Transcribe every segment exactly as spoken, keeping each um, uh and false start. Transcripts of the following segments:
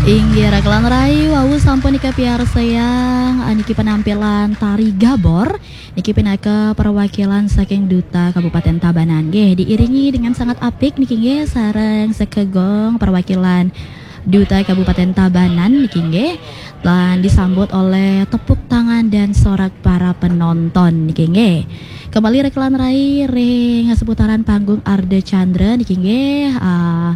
Inggih, rekan rai, wau sampun nika piarsayang, eh, niki penampilan tari gabor. Niki pinaka perwakilan saking Duta Kabupaten Tabanan nggih, diiringi dengan sangat apik niki nggih sareng sekegong perwakilan Duta Kabupaten Tabanan niki nggih, lan disambut oleh tepuk tangan dan sorak para penonton niki nggih. Kembali rekan rai ring seputaran panggung Arda Chandra niki nggih, ah,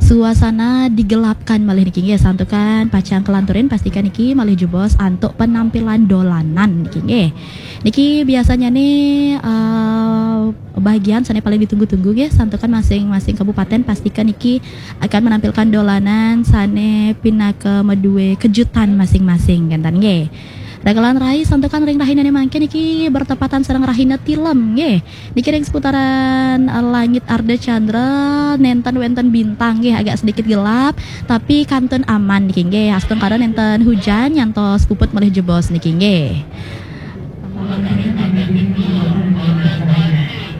suasana digelapkan malih niki nggih, santukan pacang kelanturin, pastikan niki malih jebos antuk penampilan dolanan niki nggih. Niki biasanya nih, eh, bagian sane paling ditunggu-tunggu nggih, santukan masing-masing kabupaten pastikan niki akan menampilkan dolanan sane pinaka madue kejutan masing-masing, kenten nggih. Rekan rai, santukan ring rahinane mangkin niki bertepatan sareng rahina tilem nggih. Niki ring seputaran, eh, langit Arda Chandra, nenten wenten bintang nggih, agak sedikit gelap, tapi kantun aman niki nggih. Astungkara nenten hujan nyantos puput malih jebos niki nggih.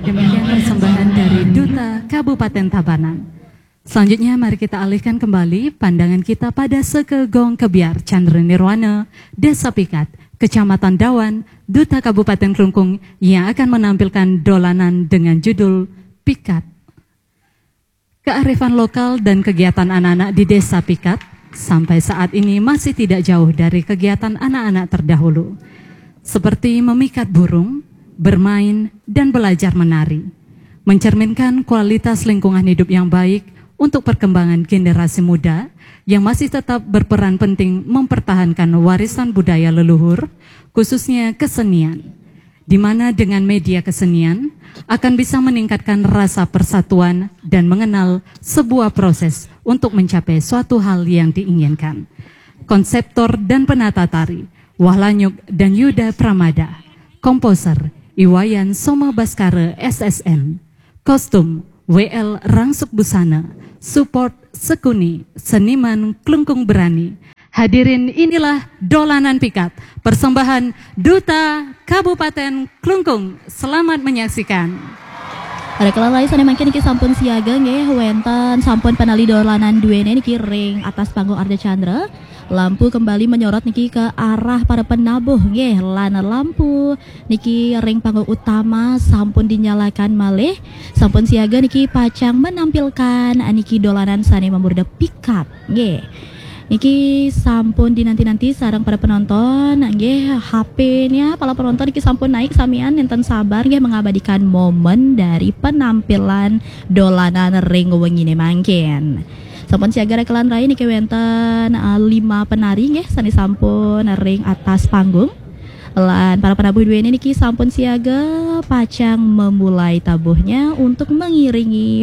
Demikian persembahan dari Duta Kabupaten Tabanan. Selanjutnya, mari kita alihkan kembali pandangan kita pada sekegong kebyar Chandra Nirwana, Desa Pikat, Kecamatan Dawan, Duta Kabupaten Klungkung yang akan menampilkan dolanan dengan judul Pikat. Kearifan lokal dan kegiatan anak-anak di Desa Pikat sampai saat ini masih tidak jauh dari kegiatan anak-anak terdahulu, seperti memikat burung, bermain, dan belajar menari, mencerminkan kualitas lingkungan hidup yang baik untuk perkembangan generasi muda yang masih tetap berperan penting mempertahankan warisan budaya leluhur, khususnya kesenian, di mana dengan media kesenian akan bisa meningkatkan rasa persatuan dan mengenal sebuah proses untuk mencapai suatu hal yang diinginkan. Konseptor dan penata tari, Wahlanyuk dan Yuda Pramada. Komposer, Iwayan Soma Baskara, S S M. Kostum, W L Rangsuk Busana. Support, Sekuni, seniman Klungkung Berani. Hadirin, inilah Dolanan Pikat, persembahan Duta Kabupaten Klungkung. Selamat menyaksikan. Rekan rai, sane mangkin niki sampun siaga nggih, wenten sampun panali dolanan duene niki ring atas panggung Arda Chandra. Lampu kembali menyorot niki ke arah para penabuh nggih, lan lampu niki ring panggung utama sampun dinyalakan malih, sampun siaga niki pacang menampilkan niki dolanan sane mamurda pikat nggih. Niki sampun dinanti-nanti sareng para penonton nggih, H P-nya para penonton niki sampun naik samian, nenten sabar nggih mengabadikan momen dari penampilan dolanan ring wengine mangkin. Sampun siaga rekan rai niki wenten, eh, lima penari nggih sane sampun ring atas panggung. Lan para penabuh duene niki sampun siaga pacang memulai tabuhnya untuk mengiringi